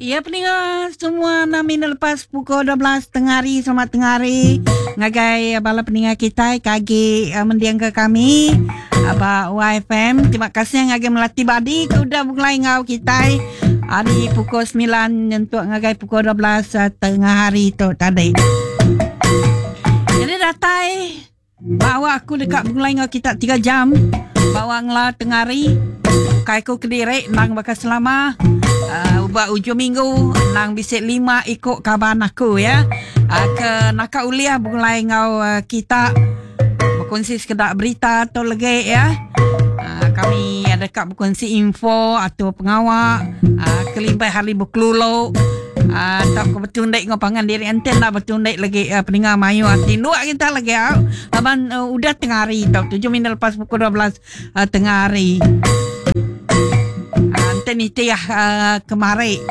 Ya peninga semua enam minit lepas pukul 12 tengah hari selamat tengah hari ngagai bala peninga kitai ke agi uh, mending ke kami ba YFM terima kasih ngagai Melati Badi ke udah begulai enggau kitai hari pukul 9 nyentuk ngagai pukul 12 uh, tengah hari tu tadi. Jadi datai Ba awak aku deka begulai enggau kita tiga jam ba awak ngela tengah hari. Ukai aku kediri endang baka selama uhh ba ujung minggu endang bisi lima iku kaban aku ya uhh ke naka ulih begulai enggau kita bekunsi sekeda berita tu legi ya. Uhh kami deka bekunsi info atur pengawa uhh kelimpah hari bekelulu. Ah, tau ke betundik enggau pangan diri enti enda betundik lagi uh, peninga mayuh tinduk kita lagi au. Laban uh, udah tengah hari tau tujuh minit lepas pukul 12 uh, tengah hari. Uh, enti nitih uh, kemari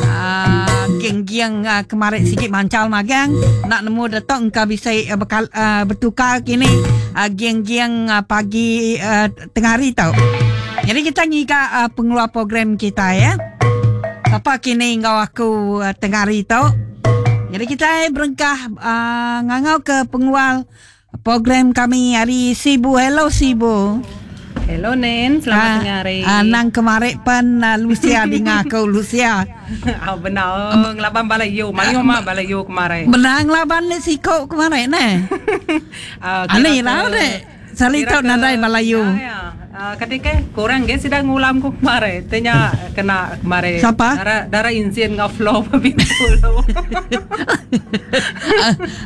uh, geng-geng uh, kemari sigi mancal magang nak nemu datuk engka bisi uh, bekal, uh, bertukar kini uh, geng-geng uh, pagi uh, tengah hari tau. Jadi kita ngiga uh, pengeluar program kita ya. Sapa kini enggau aku uh, tengah hari tu. Jadi kita berengkah uh, ngangau ke pengeluar program kami hari Sibu. Hello Sibu. Hello Nen, selamat uh, tengah hari. Uh, nang kemarik pan uh, Lucia dinga aku Lucia. Oh, benar ngelaban bala yu, mayuh mah bala yu kemarin. Benar ngelaban le siko kemarin ne. uh, Ani lah dek. Sali tau nadai balayu. Ya ya. Kati ke kurang ge sida ngulam ku kemari. Ti nya kena kemari. Sapa? Dara dara injin enggau flow ba Bintulu.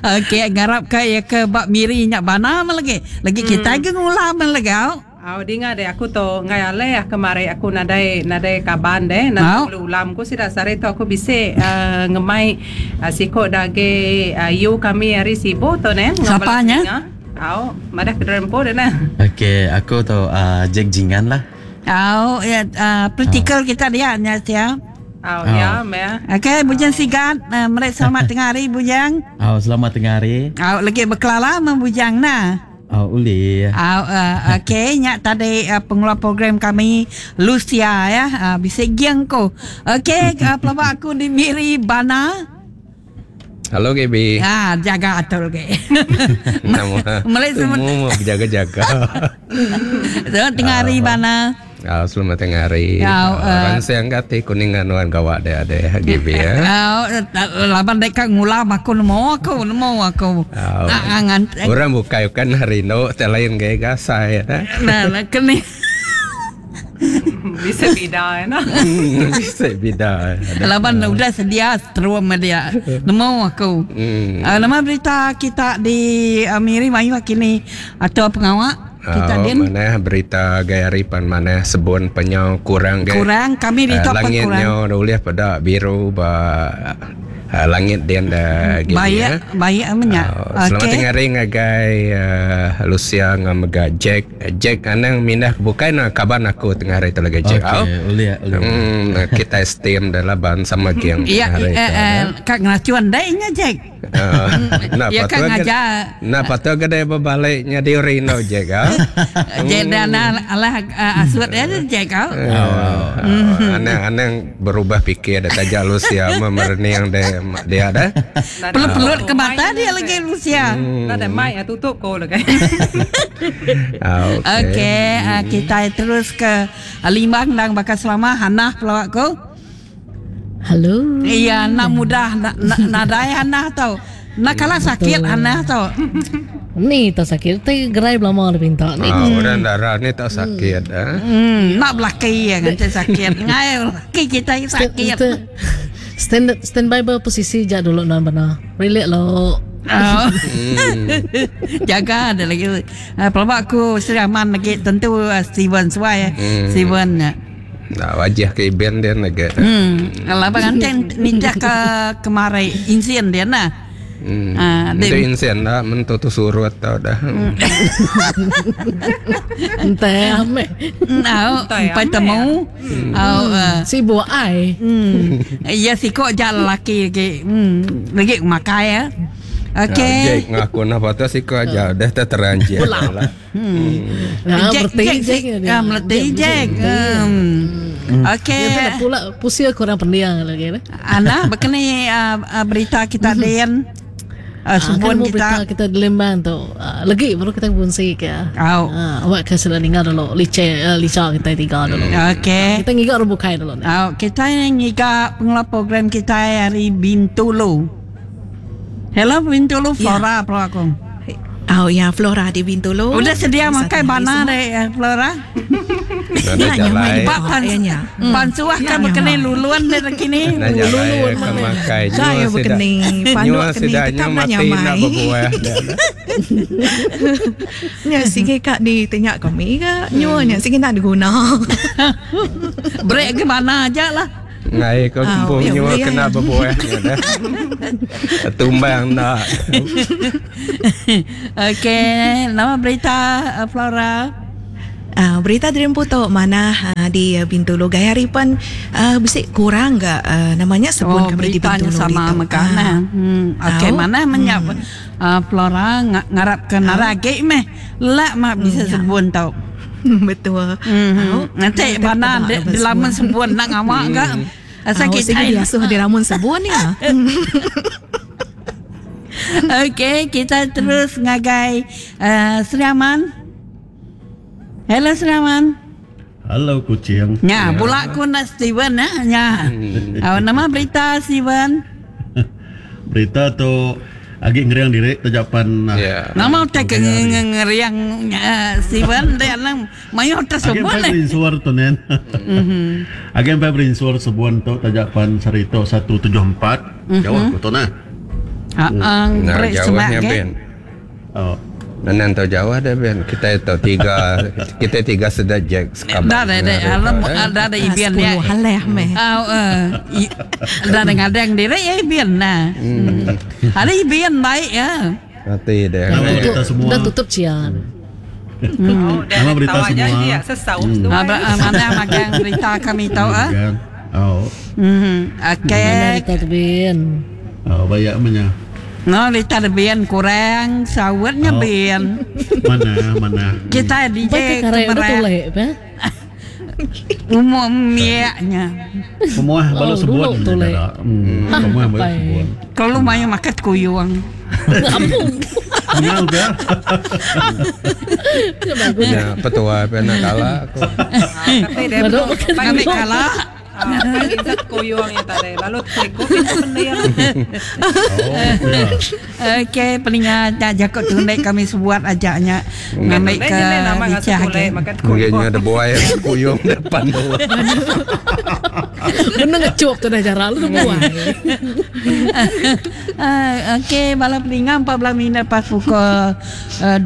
Okey ngarap ka iya ke ba Miri nya bana meh lagi. Lagi kitai ge ngulam meh lagi au. Au dinga deh aku tu enggai alih kemari aku nadai nadai kaban deh nadai ulih ulam ku sida sehari tu aku bisi uhh ngemai siku da agi yu kami ari Sibu tu neh enggau Sapa bala nya? telinga. Au, madah ke diri empu deh nah. Okey, aku tu uh, Jack Jingan lah. Au, ya uh, praktikal kita dia nya sia. Au, ya meh. Okey, Bujang Sigat, uh, meri selamat tengah hari Bujang. Au, selamat tengah hari. Au, lagi bekelala meh Bujang nah. Au, ulih. Au, uh, okey, nya tadi uh, pengeluar program kami Lucia ya, uh, bisi geng ko. Okey, uh, pelaba aku di Miri Bana. Hello GB. Ah, jaga atur ke. Nama. Semua berjaga-jaga. Selamat tengah hari bana. Ah, selamat tengah hari. Ya, uh, Ransing kati kuning anuan gawa deh deh GB ya. Ah, laban dek ka ngulam aku nemu aku nemu aku. Ah, Orang bukai kan hari no lain gaya gasai ya. Nah, nah keni. Bisa bida nah. Bisa bida. Laban udah sedia seterum dia. Nemu aku. Hmm. Uh, nama berita kita di uh, Miri mayuh kini atau pengawa kita uh, din. Mana berita gaya hari pan mana sebun penyau kurang gaya. Kurang kami di uh, langitnya ulih pada biru ba Uh, langit din da gini baik, ya. Baik amenya. Uh, selamat okay. tengah hari ngagai uh, Lucia ngau mega Jack. Jack anang mindah ke bukai nah kaban aku tengah hari tu lagi Jack. Okay, ulih ulih. Hmm, kita steam dah laban sama geng Ya, eh, eh, kak ngeracuan dai nya Jack. Uh, nah, ya kak ngajar. Nah, patut ke dia berbalik nya di Rino Jack ah. Jack dah alah asut ya Jack ah. Uh, anang-anang berubah fikir dah taja Lucia memerniang dia dia dah. Pelut-pelut ke mata dia lagi Lucia. Hmm. Ada mic ah tutup ko lagi. Okey. Okey, uh, kita terus ke Limbang dan bakal selama Hanah pelawak ko. Hello. Iya, nak mudah nak nadai Hanah tau. Nak kalah sakit Hanah tau. Ni tak sakit, ti gerai belama dia pinta ni. Ah, orang darah ni tak sakit hmm. ah. Hmm, nak belaki ya kan sakit. Ngai laki kita sakit. Stand stand by berposisi ja dulu nan bana. Relax lo. Oh. Jaga ada lagi. Uh, pelabak aku Sri Aman lagi tentu uh, Steven Suai. Hmm. Steven. Nah, wajah ke event dia lagi. Hmm. Kalau bang anten ninja ke kemari insien dia nah. Hmm. Uh, Itu insien lah, mentu tu surut tau dah. Entah ame. Au, empai temu. Au, sibuk ai. Hmm. Ya siko ja lelaki lagi. Hmm, lagi makai ya. Okey. Jack ngaku nah patut siku aja dah terang Jack. Lah. Nah, Jack, berarti Jack, Jack. Jack. Ah, meleti Jack. Hmm. Okey. Dia tak pula pusia kurang pendiang lagi lah. Ana berkena berita kita den. Ah, kan Subun mau berita kita. kita di Lembang tu. Lagi baru kita bungsi ke. Au. Awak ke sudah dengar dulu lice lica kita tiga dulu. Okey. Kita ngiga orang bukai dulu ni. Au, kita ngiga pengelola program kita hari Bintulu. Hello Bintulu Flora yeah. aku. Oh ya, Flora di Bintulu. Udah sedia Satu makan hari bana semua. deh Flora. Nak Ya, jalai. nyaman. Pak pan ya, nya. pansuah kan Ya, berkena nyaman. luluan deh kini. Nak jalai ke makai. Saya berkena panduk kena tetap nak mati nak nyamai. berbuah. Dah, dah. Nya sige kak di tanya kami ke nyuanya sige nak diguna. Break ke mana aja lah. Ngai kau Ah, kumpul ya, nyua boleh, kena ya. berbuah. Ya, dah. Tumbang nak. Okey, nama berita Flora. Berita dari Putu mana di Bintulu gaya ripan bisik kurang ga namanya sebun kami di beritanya Bintulu sama itu. makanan. Okey, Au. mana menyap Flora ngarap ke narage meh. Lak mak bisa ya. sebun tau. Betul. Au. Nanti Kita mana tak di, nak di lamun sebun nak ngamak ke? Asal Au, kita sige diasuh di lamun sebun ya. Okey, kita terus ngagai Sri Aman. Hello Sri Aman. Halo kucing. Nya, pula aku nak Steven ah, nya. Nama berita Steven. Berita tu agi ngeriang diri tajapan. Ya. Nama utai ke ngeriang Steven dia lang mayo Agi tersebut empat ni. berinsur tu nen. Agi empat berinsur sebuan tu tajapan sarito 174. Jauh aku tu nah. Ha ang Nah, break jauhnya semak ke. Ben. Oh. Nanan tahu jauh dah Ben. Kita tahu tiga kita tiga sedap Jack sekabar. Dah dah dah alam dah dah ibian dia. 10 haleh meh. Au dah ada ngadang diri ya ibian nah. Ada ibian baik ya. Mati dah. Nama berita semua. Dah tutup cian. Oh, Nama berita semua. Dia sesau tu. Mana magang berita kami tahu ah. Kan? Oh. Okey. Mana berita tu bin. Oh, banyak menya. No, berita bian kurang, sawitnya Oh. bian. Mana mana. Kita DJ Baik ke karek udah kemarin tulek pe. umum miaknya. Semua balu Oh, sebuan. dulu tu, Lek. Semua balu Apa? sebuan. Kalau mayu makan kuyuang. Ampun. Mengal ke? Ya bagus. Ya, petua apa nak kalah aku. Tapi dia Baru betul. makan Kami Pagi kalah. Pagi zat koyong ya tadi. Lalu teku itu pendiam. Oh, ya. Okey, peningat tak jakut tunai kami sebuat ajaknya ngambil ke nama licah ngasuh ke. makan Mungkin koyong. ada buaya kuyung depan tu. Bener ngecup tu dah jarak lu tu buai. Okey, bala peningat 14 minit pas pukul 12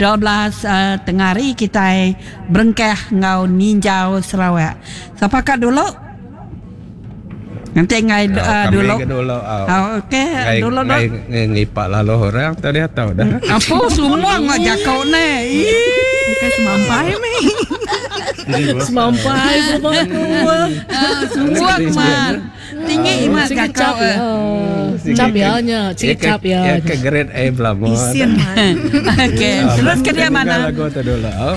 tengah hari kita berengkah ngau ninjau Sarawak. Siapa kat dulu? Nanti ngai Kami dulu. ke dulu. Ah, okey, Ngai dulu ngai dulu. ngai ngipak lalu orang tadi tahu dah. Apa semua ngak jakau ni? Ih. Bukan semampai meh. Semampai pun aku. Semua man. Tinggi imat Sikit jakau. cap ya. Cap ya nya, sikit cap ya. Ya ke grade A belum. Isian man. Okey, terus ke dia mana? Lagu tu dulu. Ah.